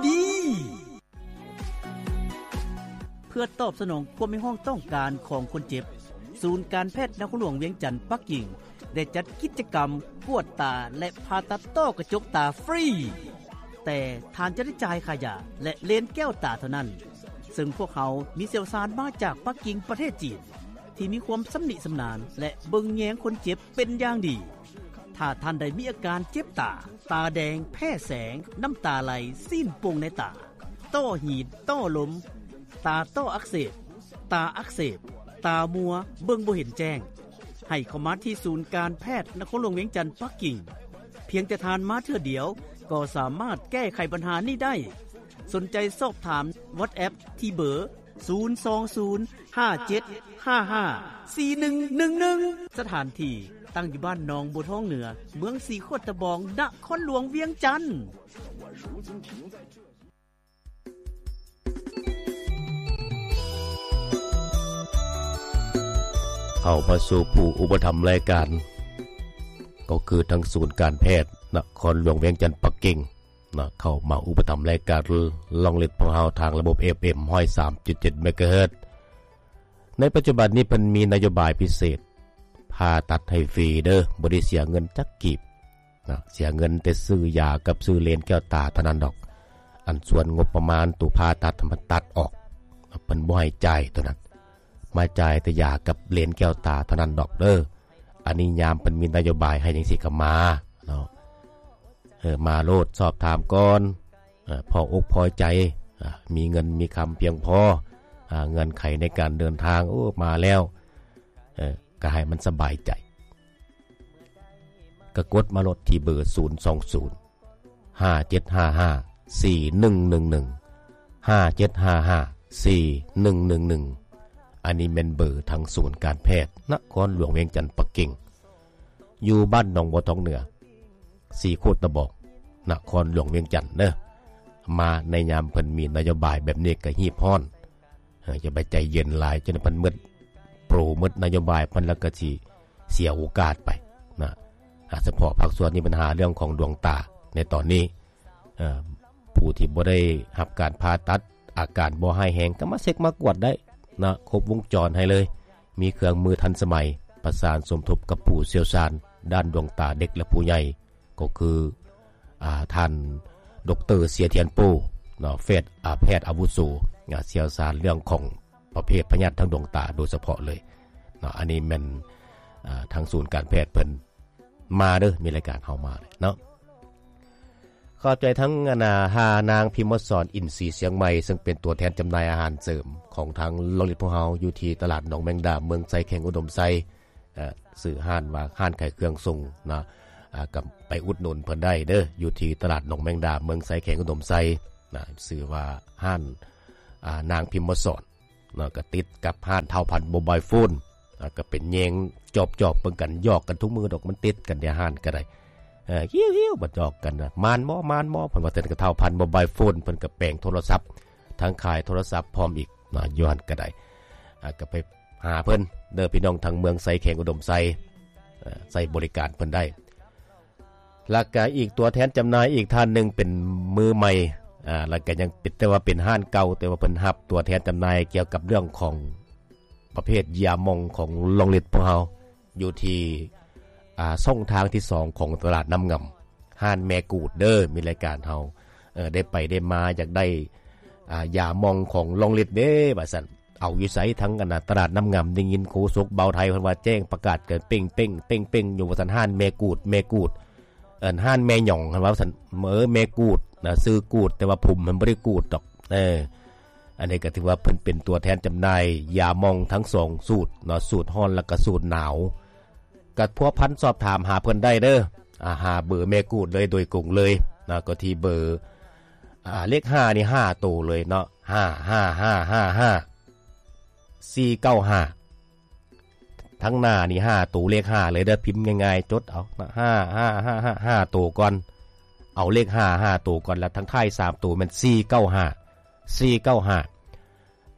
ດີ. ເພື່ອຕອບສະໜອງຄວາມຮຽກຮ້ອງຕ້ອງການຂອງຄົນເຈັບ, ສູນການແພດນະຄອນຫຼວງວຽງຈັນປັກກິ່ງ ໄດ້ຈັດກິດຈະກຳກວດຕາ ແລະ ຜ່າຕັດຕ້ອກະຈົກຕາຟຣີ, ແຕ່ທ່ານຈະໄດ້ຈ່າຍຄ່າຢາ ແລະ ເລນແກ້ວຕາເທົ່ານັ້ນ, ເຊິ່ງພວກເຮົາມີຊ່ຽວຊານມາຈາກປັກກິ່ງປະເທດຈີນ ທີ່ມີຄວາມຊຳນິຊຳນານ ແລະ ເບິ່ງແຍງຄົນເຈັບເປັນຢ່າງດີ. ຖ້າທ່ານໃດມີອາການເຈັບຕາ, ຕາແດງ, ແພ້ແສງ, ນ້ຳຕາໄຫຼ, ຊີ້ນປົ່ງໃນຕາ, ຕ້ອຫີນ, ຕ້ອລົມ, ຕາຕ້ອອັກເສບ, ຕາອັກເສບ, ຕາມົວ, ເບິ່ງບໍ່ເຫັນແຈ້ງ, ໃຫ້ເຂົ້າມາທີ່ສູນການແພດນະຄອນຫຼວງວຽງຈັນປັກກິ່ງ. ພຽງແຕ່ທ່ານມາເທື່ອດຽວ ກໍສາມາດແກ້ໄຂບັນຫານີ້ໄດ້. ສົນໃຈສອບຖາມ WhatsApp ທີ່ເບີ ສູນສອງສູນ ຫ້າເຈັດຫ້າຫ້າ ສີ່ໜຶ່ງໜຶ່ງໜຶ່ງ. ສະຖານທີ່ຕັ້ງຢູ່ບ້ານໜອງບົວທອງເໜືອ, ເມືອງສີໂຄດຕະບອງ, ນະຄອນຫຼວງວຽງຈັນ. ເຂົ້າມາສູ່ຜູ້ອຸປະຖຳລາຍການ ກໍຄືທາງສູນການແພດນະຄອນຫຼວງວຽງຈັນປັກກິ່ງ ນະ ເຂົ້າມາອຸປະຖຳລາຍການລອງເລັດພວກເຮົາທາງລະບົບ ເອັຟເອັມ ຮ້ອຍສາມຈຸດເຈັດ ເມກາເຮີດ. ໃນປັດຈຸບັນນີ້ເພິ່ນມີນະໂຍບາຍພິເສດ ຜ່າຕັດໃຫ້ຟຣີເດີ ບໍ່ໄດ້ເສຍເງິນຈັກກີບນະ, ເສຍເງິນແຕ່ຊື້ຢາກັບຊື້ເລນແກ້ວຕາເທົ່ານັ້ນດອກ. ອັນສ່ວນງົບປະມານໂຕຜ່າຕັດ ມັນຕັດອອກ, ເພິ່ນບໍ່ໃຫ້ຈ່າຍໂຕນັ້ນ, ມາຈ່າຍແຕ່ຢາກັບເລນແກ້ວຕາເທົ່ານັ້ນດອກເດີ. ອັນນີ້ຍາມເພິ່ນມີນະໂຍບາຍໃຫ້ຈັ່ງຊີ້ກໍມາເນາະ. ເອີ ມາໂລດ ສອບຖາມກ່ອນ ເອີ ພໍອົກພໍໃຈ ເອີ ມີເງິນມີຄຳພຽງພໍ ເອີ ເງື່ອນໄຂໃນການເດີນທາງ ໂອ້ ມາແລ້ວ ເອີ ກໍໃຫ້ມັນສະບາຍໃຈ ກໍກົດມາໂລດທີ່ເບີ ສູນສອງສູນ ຫ້າເຈັດຫ້າຫ້າ ສີ່ໜຶ່ງໜຶ່ງໜຶ່ງ ຫ້າເຈັດຫ້າຫ້າ ສີ່ໜຶ່ງໜຶ່ງໜຶ່ງ. ອັນນີ້ແມ່ນເບີທາງສູນການແພດນະຄອນຫຼວງວຽງຈັນປັກກິ່ງ ຢູ່ບ້ານໜອງບົວທອງເໜືອ ສີໂຄດຕະບອງ ນະຄອນຫຼວງວຽງຈັນເດີ. ມາໃນຍາມເພິ່ນມີນະໂຍບາຍແບບນີ້ກໍຮີບຮ້ອນ ເອີ ຢ່າໄປໃຈເຢັນຫຼາຍ ຈົນເພິ່ນໝົດໂປຣ ໝົດນະໂຍບາຍເພິ່ນ ແລ້ວກໍຊິເສຍໂອກາດໄປນະ. ອາ ສະເພາະພາກສ່ວນມີບັນຫາເລື່ອງຂອງດວງຕາໃນຕອນນີ້ ເອີ ຜູ້ທີ່ບໍ່ໄດ້ຮັບການຜ່າຕັດ ອາການບໍ່ຮ້າຍແຮງ ກໍມາເຊັກມາກວດໄດ້ນະ ຄົບວົງຈອນໃຫ້ເລີຍ. ມີເຄື່ອງມືທັນສະໄໝ ປະສານສົມທົບກັບຜູ້ຊ່ຽວຊານດ້ານດວງຕາເດັກ ແລະ ຜູ້ໃຫຍ່ ກໍຄື ອາ ທ່ານ ດຣ ເສຍທຽນໂປ້ ເນາະ ແພດ ອາ ແພດອາວຸໂສ ອາ ຊ່ຽວຊານເລື່ອງຂອງປະເພດພະຍາດທາງດວງຕາໂດຍສະເພາະເລີຍເນາະ. ອັນນີ້ແມ່ນ ອາ ທາງສູນການແພດເພິ່ນມາເດີ ມີລາຍການເຮົາມາເນາະ. ຂອບໃຈທັງ ອັນນາ ທ່ານນາງພິມມະສອນ ອິນສີຊຽງໃໝ່ ເຊິ່ງເປັນຕົວແທນຈຳໜ່າຍອາຫານເສີມຂອງທາງລອງລິດພວກເຮົາ ຢູ່ທີ່ຕະຫຼາດໜອງແມງດາ ເມືອງໄຊ ແຂວງອຸດົມໄຊ. ເອີ ຊື່ຮ້ານວ່າຮ້ານຂາຍເຄື່ອງສົ່ງເນາະ ອາ ກໍໄປອຸດໜູນເພິ່ນໄດ້ເດີ ຢູ່ທີ່ຕະຫຼາດໜອງແມງດາ ເມືອງໄຊ ແຂວງອຸດົມໄຊນະ. ຊື່ວ່າຮ້ານ ອາ ນາງພິມມະສອນເນາະ ກໍຕິດກັບຮ້ານທ້າວພັນໂມບາຍໂຟນ ອາ ກໍເປັນແຍງຈອບໆເບິ່ງກັນ ຫຍອກກັນທຸກມື້ດອກ ມັນຕິດກັນເດ ຮ້ານກໍໄດ້. ເອີ ຫິ້ວໆ ບັດຫຍອກກັນນະ ມານບໍ່ ມານບໍ່ ເພິ່ນວ່າ. ແຕ່ກໍທ້າວພັນໂມບາຍໂຟນ ເພິ່ນກໍແປງໂທລະສັບ ທັງຂາຍໂທລະສັບພ້ອມອີກນະ ຢູ່ຫັ້ນກໍໄດ້. ອາ ກໍໄປ ຫາເພິ່ນເດີ ພີ່ນ້ອງທາງເມືອງໄຊ ແຂວງອຸດົມໄຊ ເອີ ໃຊ້ບໍລິການເພິ່ນໄດ້. ແລ້ວກະອີກຕົວແທນຈຳໜ່າຍອີກທ່ານໜຶ່ງເປັນມືໃໝ່ ອາ ແລ້ວກະຍັງເປັນ ແຕ່ວ່າເປັນຮ້ານເກົ່າ ແຕ່ວ່າເພິ່ນຮັບຕົວແທນຈຳໜ່າຍກ່ຽວກັບເລື່ອງຂອງປະເພດຢາໝອງຂອງລອງລິດພວກເຮົາ ຢູ່ທີ່ ອາ ຊ່ອງທາງທີສອງຂອງຕະຫຼາດນ້ຳງຳ ຮ້ານແມ່ກູດເດີ. ມີລາຍການເຮົາ ເອີ ໄດ້ໄປໄດ້ມາ ຢາກໄດ້ ອາ ຢາໝອງຂອງລອງລິດເດ້ ວ່າຊັ້ນ. ເອົາຢູ່ໃສ ທັງອັນນະ ຕະຫຼາດນ້ຳງຳ ໄດ້ຍິນໂຄສົກບ່າວໄທເພິ່ນວ່າແຈ້ງປະກາດກັນເປັງໆ ເປັງໆ ຢູ່ວ່າຊັ້ນ. ຮ້ານແມ່ກູດ ແມ່ກູດ ເອີ້ນຮ້ານແມ່ຫຍອງ ເພິ່ນວ່າຊັ້ນ. ເອີ ແມ່ກູດນະ ຊື່ກູດ ແຕ່ວ່າຜົມມັນບໍ່ໄດ້ກູດດອກ. ເອີ ອັນນີ້ກໍຖືວ່າເພິ່ນເປັນຕົວແທນຈຳໜ່າຍຢາໝອງທັງສອງສູດເນາະ ສູດຮ້ອນ ແລ້ວກໍສູດໜາວ. ກໍພົວພັນສອບຖາມຫາເພິ່ນໄດ້ເດີ ອາ ຫາເບີແມ່ກູດເລີຍໂດຍກົງເລີຍນະ ກໍທີ່ເບີ ອາ ເລກຫ້ານີ້ຫ້າໂຕເລີຍເນາະ ຫ້າຫ້າຫ້າຫ້າຫ້າ ສີ່ເກົ້າຫ້າ. ທາງໜ້ານີ້ຫ້າໂຕ ເລກຫ້າເລີຍເດີ ພິມງ່າຍໆ ຈົດເອົານະ ຫ້າຫ້າຫ້າຫ້າ ຫ້າໂຕກ່ອນ ເອົາເລກຫ້າ ຫ້າໂຕກ່ອນ ແລ້ວທາງທ້າຍສາມໂຕແມ່ນ ສີ່ເກົ້າຫ້າ ສີ່ເກົ້າຫ້າ.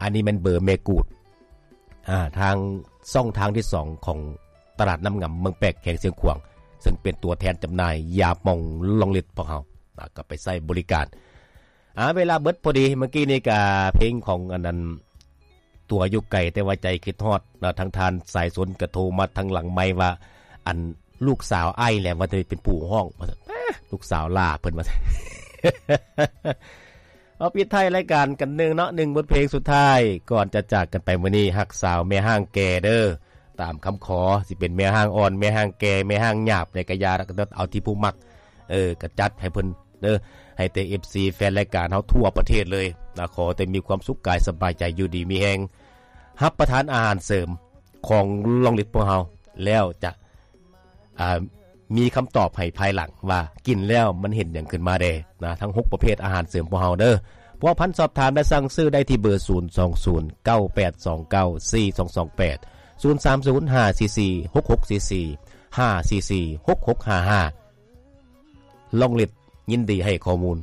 ອັນນີ້ແມ່ນເບີແມ່ກູດ ອາ ທາງຊ່ອງທາງທີສອງຂອງຕະຫຼາດນ້ຳງຳ ເມືອງແປກ ແຂວງຊຽງຂວາງ ເຊິ່ງເປັນຕົວແທນຈຳໜ່າຍຢາໝອງລອງລິດພວກເຮົາ ອາ ກໍໄປໃຊ້ບໍລິການ. ອາ ເວລາເບິດພໍດີ. ເມື່ອກີ້ນີ້ກະເພງຂອງອັນນັ້ນ ຕົວຢູ່ໄກແຕ່ວ່າໃຈຄິດຮອດເນາະ. ທາງທ່ານສາຍຊົນກະໂທມາທາງຫຼັງໄມວ່າ ອັນລູກສາວອ້າຍແຫຼະວ່າຈະເປັນຜູ້ຮ້ອງວ່າຊັ້ນ. ອາ ລູກສາວຫຼ້າເພິ່ນວ່າຊັ້ນ. ເອົາ ປິດທ້າຍລາຍການກັນໜຶ່ງເນາະ ໜຶ່ງບົດເພງສຸດທ້າຍ ກ່ອນຈະຈາກກັນໄປມື້ນີ້. ຮັກສາວແມ່ຮ້າງແກ່ເດີ ຕາມຄຳຂໍ ຊິເປັນແມ່ຮ້າງອ່ອນ ແມ່ຮ້າງແກ່ ແມ່ຮ້າງຫຍາບໃດກະຢ່າ ເອົາທີ່ຜູ້ມັກ ເອີ ກະຈັດໃຫ້ເພິ່ນເດີ ໃຫ້ແຕ່ເອັຟຊີແຟນລາຍການເຮົາທົ່ວປະເທດເລີຍນະ. ຂໍແຕ່ມີຄວາມສຸກກາຍສະບາຍໃຈ ຢູ່ດີມີແຮງ ຮັບປະທານອາຫານເສີມຂອງລອງລິດພວກເຮົາ ແລ້ວຈະ ອ່າ ມີຄຳຕອບໃຫ້ພາຍຫຼັງວ່າກິນແລ້ວມັນເຫັນຫຍັງຂຶ້ນມາແດ່ນະ. ທັງຫົກປະເພດອາຫານເສີມພວກເຮົາເດີ. ພົວພັນສອບຖາມ ແລະ ສັ່ງຊື້ໄດ້ທີ່ເບີ ສູນສອງສູນ ເກົ້າແປດສອງເກົ້າ ສີ່ສອງສອງແປດ ສູນສາມສູນ ຫ້າສີ່ສີ່ ຫົກຫົກສີ່ສີ່ ຫ້າສີ່ສີ່ ຫົກຫົກຫ້າຫ້າ. ລອງລິດຍິນດີໃຫ້ຂໍ້ມູນ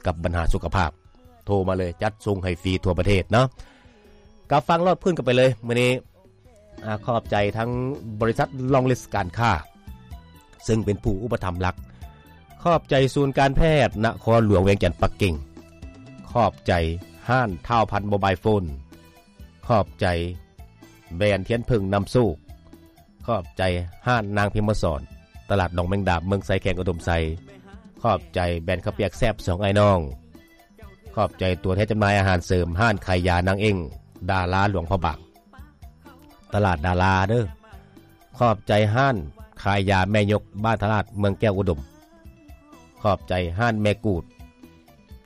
ກັບບັນຫາສຸຂະພາບ ໂທມາເລີຍ ຈັດສົ່ງໃຫ້ຟຣີທົ່ວປະເທດເນາະ. ກັບຟັງລອດພື້ນກັນໄປເລີຍມື້ນີ້. ອາ ຂອບໃຈທັງບໍລິສັດລອງລິດການຄ້າ ເຊິ່ງເປັນຜູ້ອຸປະຖຳຫຼັກ. ຂອບໃຈສູນການແພດນະຄອນຫຼວງວຽງຈັນປັກກິ່ງ. ຂອບໃຈຮ້ານທ້າວພັນໂມບາຍໂຟນ. ຂອບໃຈແບຣນທຽນເຜິ້ງນຳໂຊກ. ຂອບໃຈຮ້ານນາງພິມມະສອນ ຕະຫຼາດໜອງແມງດາ ເມືອງໄຊ ແຂວງອຸດົມໄຊ. ຂອບໃຈແບຣນເຂົ້າປຽກແຊບສອງອ້າຍນ້ອງ. ຂອບໃຈຕົວແທນຈຳໜ່າຍອາຫານເສີມ ຮ້ານຂາຍຢານາງເອັ້ງ ດາລາຫຼວງພະບາງ ຕະຫຼາດດາລາເດີ. ຂອບໃຈຮ້ານຂາຍຢາແມ່ຍົກ ບ້ານທ່າລາດ ເມືອງແກ້ວອຸດົມ. ຂອບໃຈຮ້ານແມ່ກູດ ຕ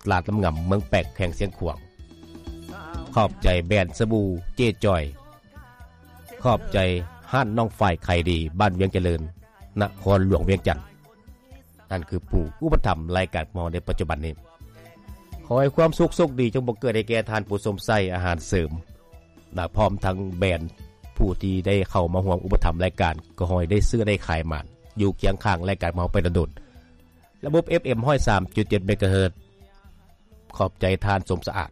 ະຫຼາດນ້ຳງຳ ເມືອງແປກ ແຂວງຊຽງຂວາງ. ຂອບໃຈແບຣນສະບູເຈຈອຍ. ຂອບໃຈຮ້ານນ້ອງຝ້າຍຂາຍດີ ບ້ານວຽງຈະເລີນ ນະຄອນຫຼວງວຽງຈັນ. ນັ້ນຄືຜູ້ອຸປະຖຳລາຍການຂອງເຮົາໃນປັດຈຸບັນນີ້. ຂໍໃຫ້ຄວາມສຸກໂຊກດີຈົ່ງບັງເກີດໃຫ້ແກ່ທ່ານຜູ້ຊົມໃຊ້ອາຫານເສີມ ແລະ ພ້ອມທັງແບຣນຜູ້ທີ່ໄດ້ເຂົ້າມາຮ່ວມອຸປະຖຳລາຍການ ກໍຂໍໃຫ້ໄດ້ຊື້ໄດ້ຂາຍໝານ ຢູ່ຄຽງຂ້າງລາຍການຂອງເຮົາໄປດົນໆ. ລະບົບເອັຟເອັມຮ້ອຍສາມຈຸດເຈັດເມກາເຮີດ. ຂອບໃຈທ່ານສົມສະອາດ.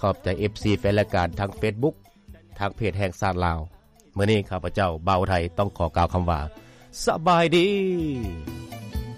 ຂອບໃຈເອັຟຊີແຟນລາຍການທາງເຟສບຸກ ທາງເພຈແຫ່ງຊາດລາວ. ມື້ນີ້ຂ້າພະເຈົ້າ ບ່າວໄທ ຕ້ອງຂໍກ່າວຄຳວ່າ ສະບາຍດີ.